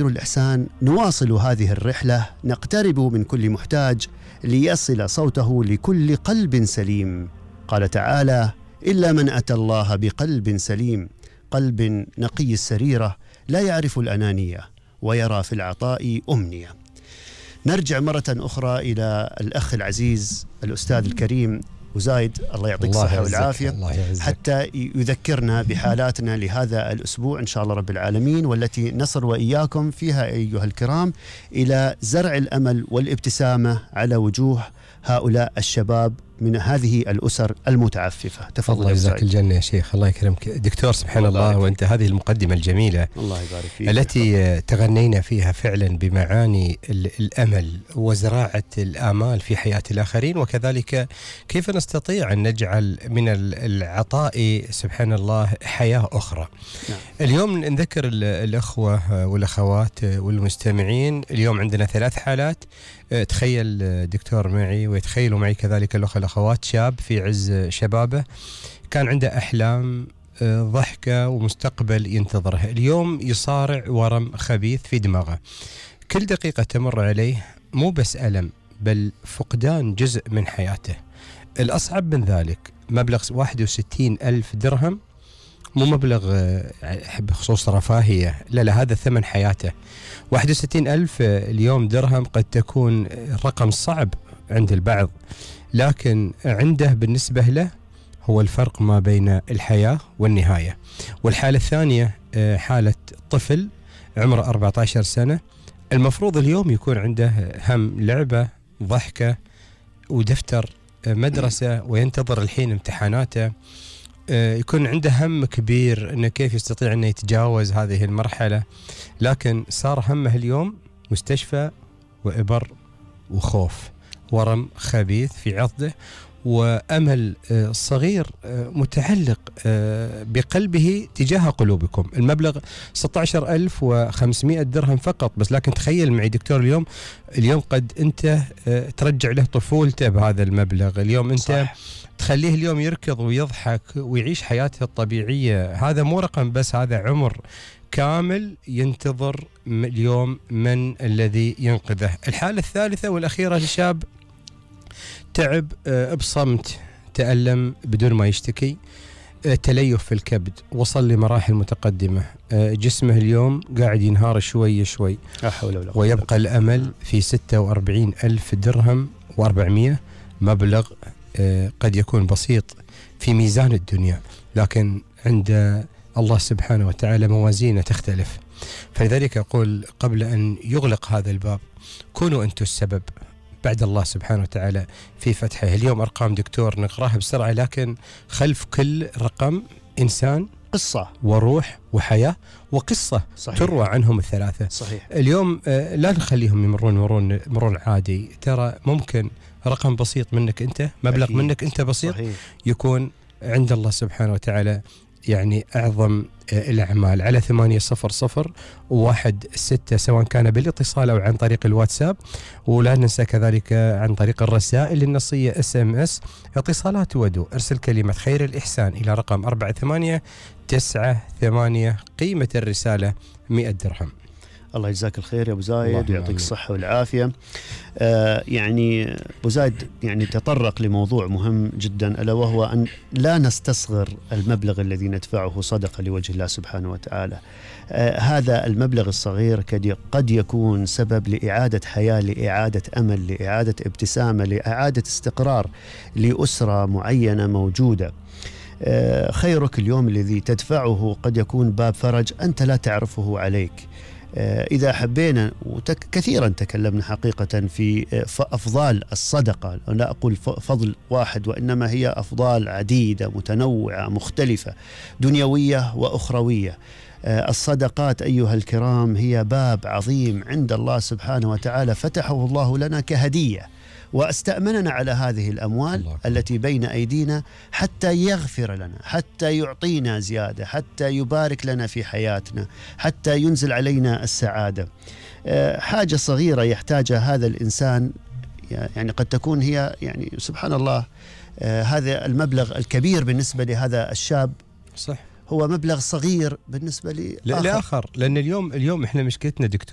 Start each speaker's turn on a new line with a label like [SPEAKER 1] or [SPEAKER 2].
[SPEAKER 1] الإحسان نواصل هذه الرحلة، نقترب من كل محتاج ليصل صوته لكل قلب سليم. قال تعالى: إلا من أتى الله بقلب سليم، قلب نقي السريرة لا يعرف الأنانية ويرى في العطاء أمنية. نرجع مرة أخرى إلى الأخ العزيز الأستاذ الكريم وزايد، الله يعطيك الصحة والعافية، حتى يذكرنا بحالاتنا لهذا الأسبوع إن شاء الله رب العالمين، والتي نصل وإياكم فيها أيها الكرام إلى زرع الأمل والابتسامة على وجوه هؤلاء الشباب من هذه الأسر المتعففة. تفضل.
[SPEAKER 2] الله يجزاك الجنة يا شيخ، الله يكرمك دكتور. سبحان الله، وأنت هذه المقدمة الجميلة
[SPEAKER 1] الله يبارك فيك
[SPEAKER 2] التي تغنينا فيها فعلا بمعاني الأمل وزراعة الآمال في حياة الآخرين، وكذلك كيف نستطيع أن نجعل من العطاء سبحان الله حياة أخرى.
[SPEAKER 1] نعم.
[SPEAKER 2] اليوم نذكر الأخوة والأخوات والمستمعين، اليوم عندنا 3 حالات. تخيل دكتور معي ويتخيلوا معي كذلك الأخوة الأخوات، شاب في عز شبابه كان عنده أحلام ضحكة ومستقبل ينتظره، اليوم يصارع ورم خبيث في دماغه. كل دقيقة تمر عليه مو بس ألم، بل فقدان جزء من حياته. الأصعب من ذلك مبلغ 61,000 درهم، مو مبلغ بخصوص رفاهية، لا هذا ثمن حياته. 61,000 اليوم درهم قد تكون رقم صعب عند البعض، لكن عنده بالنسبة له هو الفرق ما بين الحياة والنهاية. والحالة الثانية حالة طفل عمره 14 سنة، المفروض اليوم يكون عنده هم لعبة ضحكة ودفتر مدرسة، وينتظر الحين امتحاناته، يكون عنده هم كبير انه كيف يستطيع انه يتجاوز هذه المرحلة، لكن صار همه اليوم مستشفى وإبر وخوف، ورم خبيث في عضده، وأمل صغير متعلق بقلبه تجاه قلوبكم. المبلغ 16,500 درهم فقط بس، لكن تخيل معي دكتور اليوم قد أنت ترجع له طفولته بهذا المبلغ. اليوم أنت صح. تخليه اليوم يركض ويضحك ويعيش حياته الطبيعية. هذا مو رقم بس، هذا عمر كامل ينتظر اليوم من الذي ينقذه. الحالة الثالثة والأخيرة لشاب تعب بصمت، تألم بدون ما يشتكي، تليف في الكبد، وصل لمراحل متقدمة، جسمه اليوم قاعد ينهار شوي شوي، ويبقى الأمل في 46,000 درهم و400، مبلغ قد يكون بسيط في ميزان الدنيا، لكن عند الله سبحانه وتعالى موازينه تختلف. فلذلك أقول قبل أن يغلق هذا الباب كونوا أنتم السبب بعد الله سبحانه وتعالى في فتحه. اليوم أرقام دكتور نقراها بسرعة، لكن خلف كل رقم إنسان،
[SPEAKER 1] قصة
[SPEAKER 2] وروح وحياة وقصة. صحيح. تروى عنهم الثلاثة.
[SPEAKER 1] صحيح.
[SPEAKER 2] اليوم لا نخليهم يمرون مرور عادي، ترى ممكن رقم بسيط منك أنت، مبلغ أكيد. منك أنت بسيط. صحيح. يكون عند الله سبحانه وتعالى يعني أعظم الأعمال. على 800-16 سواء كان بالاتصال أو عن طريق الواتساب، ولا ننسى كذلك عن طريق الرسائل النصية SMS. اتصالات ودو، ارسل كلمة خير الإحسان إلى رقم 48998، قيمة الرسالة 100 درهم.
[SPEAKER 1] الله يجزاك الخير يا أبو زايد ويعطيك الصحة والعافية. يعني أبو زايد يعني تطرق لموضوع مهم جدا، ألا وهو أن لا نستصغر المبلغ الذي ندفعه صدقة لوجه الله سبحانه وتعالى. هذا المبلغ الصغير قد يكون سبب لإعادة حياة، لإعادة أمل، لإعادة ابتسامة، لإعادة استقرار لأسرة معينة موجودة. خيرك اليوم الذي تدفعه قد يكون باب فرج أنت لا تعرفه عليك. إذا حبينا كثيرا تكلمنا حقيقة في أفضال الصدقة، لا أقول فضل واحد، وإنما هي أفضال عديدة متنوعة مختلفة دنيوية وأخروية. الصدقات أيها الكرام هي باب عظيم عند الله سبحانه وتعالى فتحه الله لنا كهدية، واستأمننا على هذه الأموال التي بين أيدينا حتى يغفر لنا، حتى يعطينا زيادة، حتى يبارك لنا في حياتنا، حتى ينزل علينا السعادة. حاجة صغيرة يحتاجها هذا الإنسان، يعني قد تكون هي يعني سبحان الله هذا المبلغ الكبير بالنسبة لهذا الشاب
[SPEAKER 2] صح،
[SPEAKER 1] هو مبلغ صغير بالنسبة لآخر.
[SPEAKER 2] لآخر، لأن اليوم إحنا مشكلتنا دكتور